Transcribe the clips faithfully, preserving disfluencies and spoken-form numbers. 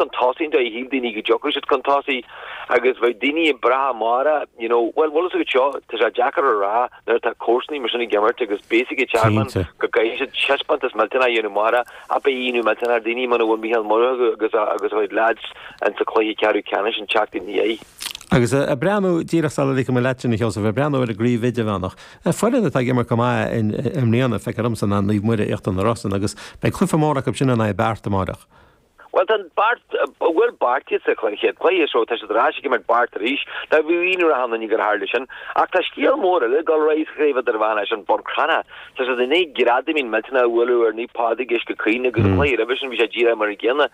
chun tosaigh an dóigh a shíl daoine go dtiocfadh siad chun tosaigh agus bheadh daoine ag brath amárach, you know, bhuel, bhfuil fhios agat seo, tá sé deacair a rá nuair atá comharsanaí mar sin ag imirt agus beidh fhios ag Tearmann Cinnte. go gcaithfidh siad taispeántas millteanach a dhéanamh amárach ach beidh ionadh millteanach ar daoine muna bhfuil Mícheál Murchú agus a agus a chuid lads in sa chluiche ceathrú ceannais an tseachtain ina dhiaidh. Agus ag breathnú díreach sula ligfidh mé leat sin a Sheosaimh, ag breathnú ar an gcraobh idirmheánach, foireann atá ag imirt go maith i mbliana, feictear domsa ná Naomh Muire Íochtar na Rosann agus beidh cluiche mór acu sin in aghaidh Beart amárach. Bhuel tá Beart bhuail Beart iad sa chéad chluiche so tá siad ar ais ag imirt Beart arís. Tá bhí ionadh ar achan duine gur tharla sin. Ach tá scéal mór eile ag dul ar aghaidh sa chraobh idirmheánach sin Bun Cranncha. Tá siad i ndiaidh greadaimín millteanach a bhualadh ar Naomh Pádraig Uisce Caoin agus an cluiche roimhe sin bhí sé díreach mar an gcéanna.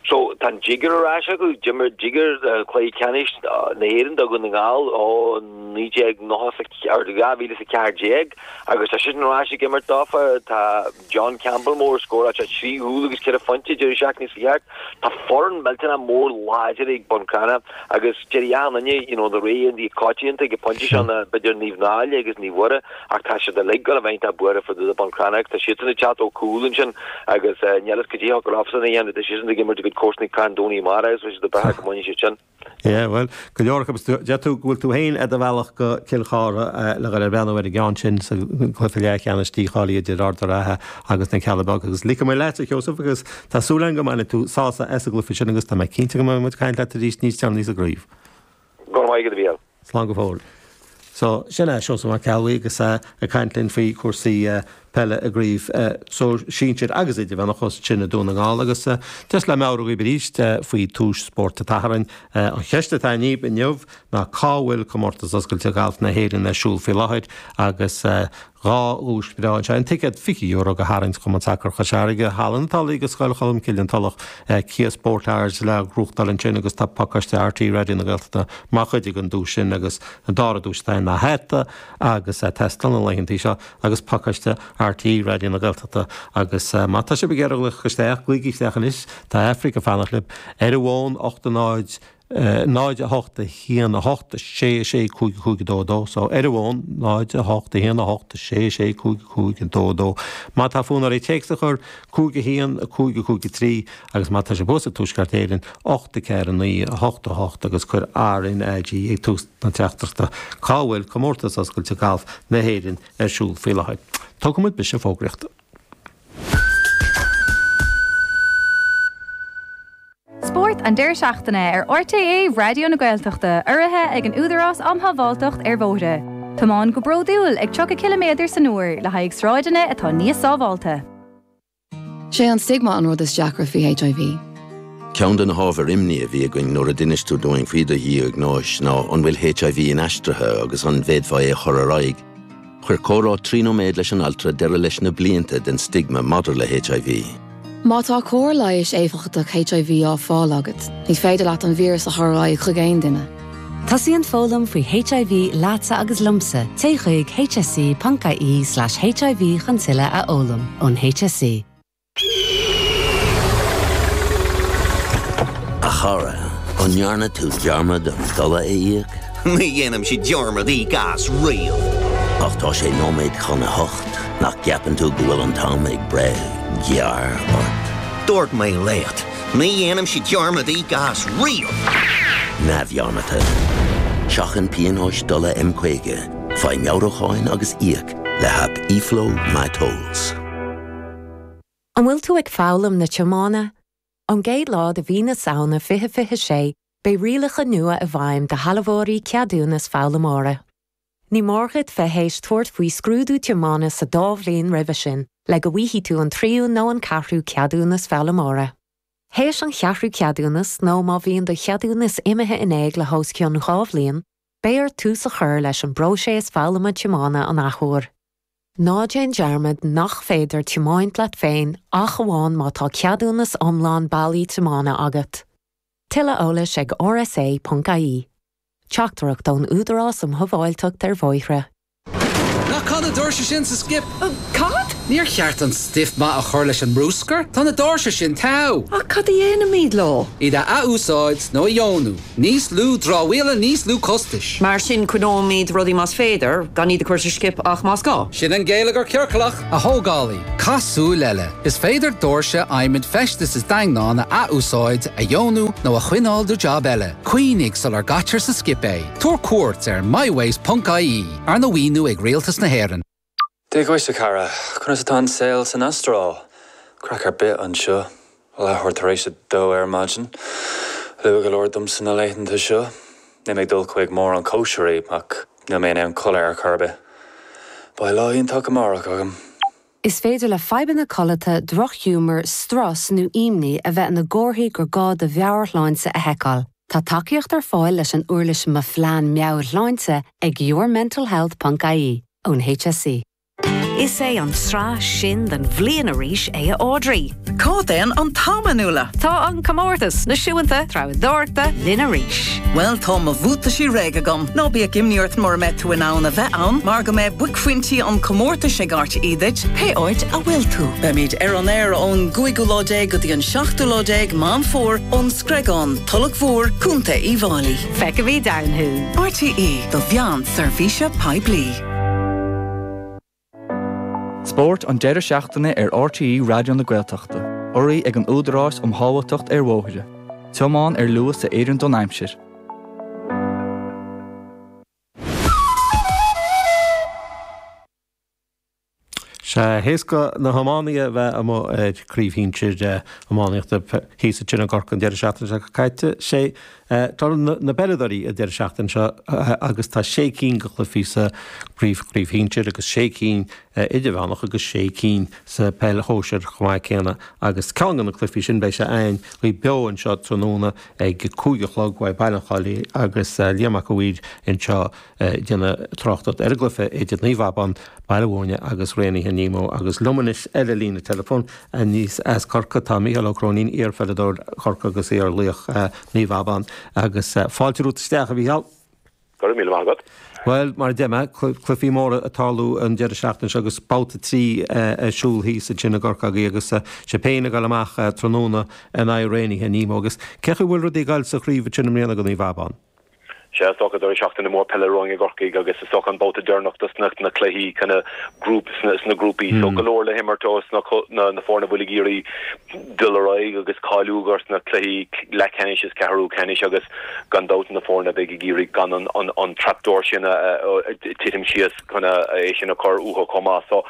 So tá an Jigger ar ais acu, d'imir Jigger cluiche ceannais na hÉireann do Dhún na nGall ó naoi déag nócha ar dhá mhíle is a ceathair déag agus tá siad ar ais ag imirt dófa. Tá John Campbell mór scóráil sé trí chúl agus ceithre phointe deireadh seachtaine seo thart. Tá foireann millteanach mór láidir ag Bun Cranncha agus deir achan duine you know, na ré an coitianta ag an bpointe seo na b'fhéidir Naomh Náille agus Naomh Mhuire ach tá siad uilig go bheith tá buartha fá dtaobh de Bun Cranncha tá siadsan ag teacht ó chúl ansin agus uh, níl fhios cad é go raibh san a dhéanamh tá siadsan ag imirt a gcuid comharsanaí Carn Domhnach amárach agus bhí siad ag brath go mbainfidh siad sin. Yeah, well, go leor agus deir tú go bhfuil tú féin ar do bhealach go Cill Chartha le dhul ag breathnú ar an gceann sin sa chluiche leathcheannais dícháilithe idir Ard an Rátha agus na Cealla Beaga agus ligfidh mé leat a Sheosaimh agus tá súil agam go mbainfidh tú sásamh as an gcluiche sin agus tá mé cinnte go mbeidh muid ag caint leat arís níos deireanaí sa gcraobh. Go raibh maith agat a Mhícheál. Slán go fóill. So sin é Seosamh Mac Ceallaigh agus ag caint linn faoi chúrsaí peile i gcraobh so sinsir agus idirmheánach sin i Dún na nGall agus just le meabhrú daoibh arís faoi Tús Spóirt an tSathairn. An cheist atá agaibh inniu ná cá bhfuil comórtas oscailte galf na hÉireann ar siúl faoi láthair agus dhá dhuais bhreá anseo an ticéad fiche euro go tharraingt Chumann Sacair Chois Fharraige Halla na Tulaí agus Scoil Cholmcille an Tulach Kia Sportage le gnóthachtáil ansin agus tá pacáiste RTÉ Raidió na Gaeltachta mar chuid den duais sin agus an dara duais atá ná hata agus Tesla na laethanta seo agus pacáiste RTÉ Raidió na Gaeltachta agus má tá sibh ag iarraidh glaoch isteach glaoigí isteach anois tá Aifric ag fanacht libh ar an bhfón ocht náid náid a hocht a haon a hocht sé sé cúig cúig dó dó so ar an bhfón náid a hocht a haon a hocht sé sé cúig cúig dó dó. Má tá fonn oraibh téacs a chur cúig a haon a cúig a cúig a trí agus má tá sibh i dTuaisceart Éireann ocht a ceathair naoi a hocht a hocht agus cuir RNAG ag tús na teachtaireachta cá bhfuil comórtas oscailte galf na hÉireann ar siúl faoi láthair. Tógfaidh muid briseadh fógraíochta. Spórt an deireadh seachtaine ar RTÉ Raidió na Gaeltachta urraithe ag an Údarás um Shábháilteacht ar Bhóithre. Tiomáin go bródúil ag tríocha ciliméadar san uair le haghaidh sráideanna atá níos sábháilte. Sé an stigma an rud is deacra faoi HIV. Ceann de na hábhair imní a bhí againn nuair a d'inis tú dúinn faoi do dhiagnóis ná an bhfuil HIV inaistrithe agus an bhféadfá é a chur ar aghaidh. Chuir comhrá trí nóiméad leis an altra deireadh leis na blianta den stigma maidir le HIV. Má tá cóir leighis éifeachtach HIV á fáil agat, ní féidir leat an víreas a chur ar aghaidh chuig aon duine. Tosaíonn foghlaim faoi HIV leatsa agus liomsa, téigh chuig hse.ie slash HIV chun tuilleadh a fhoghlaim ón HSE. A chara, an ndearna tú dearmad an dola a íoc? Ní dhéanaimse dearmad íoc as riamh. Ach tá sé nóiméad chun a hocht nach gceapann tú go bhfuil an t-am ag breith gearr ort. Dúirt mé leat, ní dhéanaimse dearmad íoc as riamh. Neamhdhearmadta. Seachain pionóis dola M caoga, faigh meabhrúcháin agus íoc le haip eFlow MyTolls. An bhfuil tú ag foghlaim na tiomána? Ón gcéad lá de mhí na Samhna fiche fiche sé, beidh rialacha nua i bhfeidhm do shealbhóirí ceadúnas foghlaimeora. Ní mór duit bheith théis tabhairt faoi scrúdú tiomána sa dá bhliain roimhe sin, le go bhfaighidh tú an tríú nó an ceathrú ceadúnas foghlaimeora. Théis an cheathrú ceadúnas nó má bhíonn do cheadúnas imithe in éag le hos cionn dhá bhliain, beidh ort tús a chur leis an bpróiseas foghlama tiomána an athuair. Ná déan dearmad nach féidir tiomáint leat féin ach amháin má tá ceadúnas iomlán bailí tiomána agat. Tuilleadh eolais ag rsa.ie. Teachtaireacht ón Údarás um Shábháilteacht ar Bhóithre. Ná caith na doirse sin sa skip. Cad? Níor cheart an stuif maith a chur leis an mbruscar, Tá na doirse sin togha. Ach cad a dhéanaimid leo? Iad a athúsáid nó a dheonú, níos lú dramhaíola níos lú costais. Mar sin coinneoimid rudaí más féidir gan iad a chur sa skip ach más gá. Sin an geilleagar ciorclach a thógálaí, Caith súil eile. Is féidir doirse adhmaid feistis is daingneáin a athúsáid a dheonú nó a choinneáil do job eile. Cuimhnigh sular gcaitear sa skip é. Tabhair cuairt ar mywaste.ie arna mhaoiniú ag Rialtas na hÉireann. Dia dhuit a chara, conas atá an saol san Astráil? Craic ar bith anseo, leathuair tar éis a dó ar maidin. Luath go leor domsa na laethanta seo, Níl mé ag dul chuig mórán cóisirí ach níl mé in ann codladh ar chor ar bith. Beidh lá iontach amárach agam. Is féidir le fadhbanna codlata drochghiúmar, strus nó imní a bheith ina gcomharthaí gur gá do mheabhairshláinte a sheiceáil. Tá tacaíocht ar fáil leis an uirlis Mo Phlean Meabhairshláinte ag yourmentalhealth.ie ón HSE. Is é an tráth sin den bhliain arís é a Audrey. Cá dtéann an t-am a Nuala. Tá an comórtas náisiúnta treabhdóireachta linn arís. Well tá mo bhuataisí réidh agam. Ná bíodh imní ort mura mbeidh tú in ann a bheith ann, mar go mbeidh buaicphointí an chomórtais ag RTÉ duit, pé áit a bhfuil tú. Beimid ar an aer ón gcúigiú lá déag go dtí an seachtú lá déag Meán Fómhair ón Screagán, Tulach Mhór, Contae Uíbh Fhailí. Feicfimid ann thú. RTÉ do mheán seirbhíse poiblí. Spórt an deireadh seachtaine ar RTÉ Raidió na Gaeltachta, urraithe ag an Údarás um Shábháilteacht ar Bhóithre. Tiomáin ar luas a oireann don aimsir. Sé héasca na hiománaithe a bheith amuigh ar chraobh shinsir iománaíochta thíos ansin i gCorcaigh an deireadh seachtaine seo caite. Sé tá na peileadóirí an deireadh seachtaine seo agus tá sé cinn de chluichí sa chraobh chraobh shinsir agus sé cinn idirmheánach agus sé cinn sa peil shóisir chomh maith céanna agus ceann de na cluichí sin beidh sé againn beo anseo tráthnóna ag cúig a chlog uaidh Baile an Chollaigh agus Liam Mac a' Mhaoir anseo déanamh tráchtaireacht ar an gcluiche idir Naomh Abán, Baile Mhúirne agus Raonaithe Nemo agus liom anois ar an líne telefón aníos as Corcaigh tá Mícheál Ó Cróinín iarpheileadóir Chorcaí agus iarlaoch Naomh Abán agus fáilte romhat isteach a Mhícheál. Go raibh míle maith agat. Well mar a deir mé cluichí móra ag tarlú an deireadh seachtaine seo agus babhta trí ar siúl thíos ansin i gCorcaigh agus sibh féin ag dul amach tráthnóna in aghaidh Raonaithe Nemo agus cé chaoi bhfuil rudaí ag dul sa chraobh ansin i mbliana do Naomh Abán. Sé is dócha deireadh seachtaine mór peile romhainn i gCorcaigh agus is dócha an babhta deireanach dos na na cluichí kind of group sna sna grúpaí so go leor le himirt dos na na na foirne a bhfuil ag iarraidh dul ar aghaidh agus cáiliú dos na cluichí leathcheannais is ceathrú ceannais agus gan dabht na foirne a bheidh ag iarraidh gan an an an trapdoor sin a a titim síos kind of é sin a chur uathu chomh maith so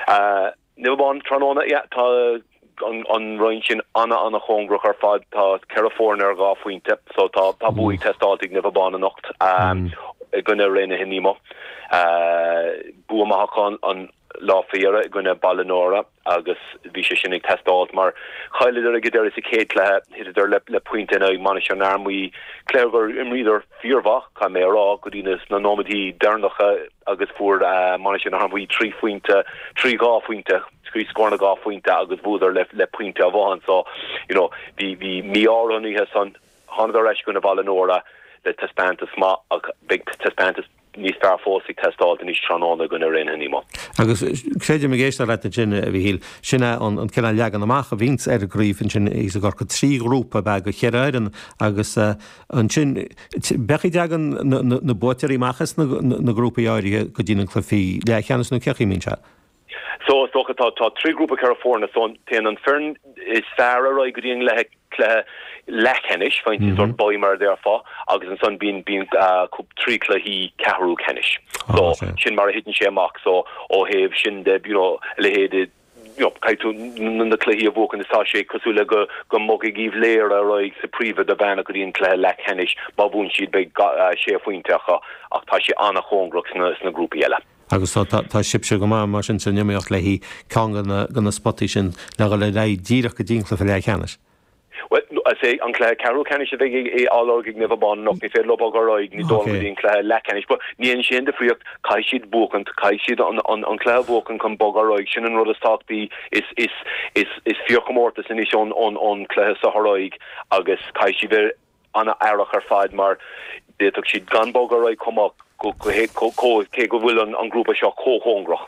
uh, Naomh Abán tráthnóna yeah tá an an roinn sin ana ana chóngarach ar fad tá ceithre foireann ar dhá phointe so tá tá bua ag teastáil ag Naomh Abán anocht um, i gcoinne Raonaithe Nemo. Uh, bua maith acu an, an lá faoi dheireadh i gcoinne Baile Nóra agus bhí sé sin ag teastáil mar chailleadar ag deireadh sa chéad chluiche thiteadar le, le pointe in aghaidh Mainistir na hArmaí cluiche gur imríodar fíormhaith caithfidh mé a rá go dtí na na nóiméadaí deireanacha agus fuair uh, Mainistir na hArmaí trí phointe trí dhá phointe trí scór dhá phointe agus bhuadar le, le pointe amháin so you know bhí bhí mí-ádh an oíche san thánadar ar ais i gcoinne Baile Nóra le taispeántas maith ach beidh taispeántas níos fearr fós ag teastáil anois tráthnóna i gcoinne Raonaithe Nemo. Agus creidim ag éisteacht leat ansin a Mhíchíl sin é an an cineál leagan amach a bhíonns ar an gcraobh ansin thíos i gCorcaigh trí ghrúpa ab ea de cheithre fhoireann agus ansin b'é a dtagann na, na, na buaiteoirí amach as na, na, na grúpaí áirithe go dtí na cluichí leathcheannais nó cé chaoi a mbíonn sé. So is dócha tá tá trí grúpa ceithre foirne so téann an foireann is fearr ar aghaidh go dtí an le cluiche leathcheannais faoin mm -hmm. sort bye mar a déarfá agus ansan bíonn bíonn uh, trí cluichí ceathrú ceannais. So oh, sin mar a thiteann sé amach so ó thaobh sin de you know, leithéid you know, caithfidh tú na cluichí a bhuachan is tá sé cosúil le go go mbogfaidh Uíbh Léire ar aghaidh sa phríomh-idirmheánach go dtí an cluiche leathcheannais má bhuann siad beidh uh, sé phointe acu ach tá sé an-chóngarach sna, sna grúpaí eile. Agus tá, tá, tá sibhse go maith mar sin san iomaíocht le haghaidh ceann de na, de na spotaí sin le dhul ar aghaidh díreach go dtí an cluiche leathcheannais. Well, sé an cluiche ceathrú ceannais a bheidh á lorg ag Naomh Abán anocht ní féidir leo bogadh ar aghaidh ní dul go dtí an cluiche leathcheannais, but ní an sin difríocht caithfidh siad buachan caithfidh siad an, an, an cluiche buachan chun bogadh ar aghaidh sin an rud is tábhachtaí is is is is fíorchomórtas anois ón ón ón cluiche seo ar aghaidh agus caithfidh siad bheith an-aireach ar fad mar d'fhéadfadh siad gan bogadh ar aghaidh chomh maith cé go bhfuil an, an grúpa seo chomh cóngarach.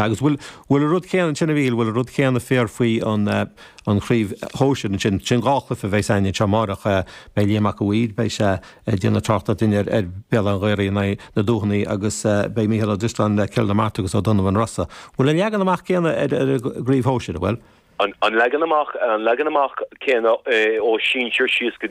Agus bhfuil bhfuil an rud céanna ansin a Mhíchíl, bhfuil an rud céanna fíor faoi an an chraobh shóisir ansin, sin dhá chluiche a bheas againn anseo amárach, beidh Liam Mac a' Mhaoir, beidh sé ag déanamh tráchtaireacht dúinn ar ar Béal Átha an Ghaorthaidh in aghaidh na Dúchonaidhe agus beidh Mícheál Ó Drisleáin le Cill na Martra agus Ó Donnabháin Rosa. Bhfuil an leagan amach céanna ar ar an gcraobh shóisir, an bhfuil? An leagan amach an leagan amach céanna ó sinsir síos go